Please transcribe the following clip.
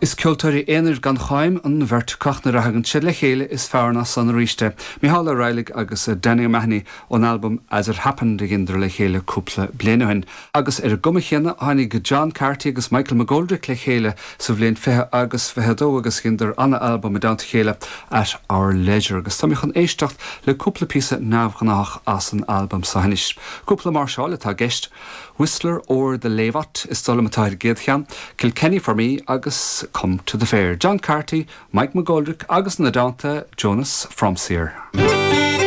Is ceoltóirí aonair gan cháim an bheirt acu ach nuair a thagann siad le chéile is fearr ná san arís é. Mícheál Ó Raghallaigh agus Danny O'Mahony ón albam As It Happened a dheineadar le chéile cúpla bliain ó shin. Agus ar an gcuma chéanna tháinig John Carty agus Michael McGoldrick le chéile sa bhliain 20 agus 22 agus dheineadar ana-albam i dteannta a chéile At Our Leisure agus tá mé chun éisteacht le cúpla píosa neamhghnáthach as an albam seo anois. Cúpla máirseáil atá i gceist. Whistler O'er the Lavot is dóigh liom atá ar an gcéad cheann, Kilkenny for Me agus Come to the Fair. John Carty, Mike McGoldrick agus ina dteannta Jonas Fromseer.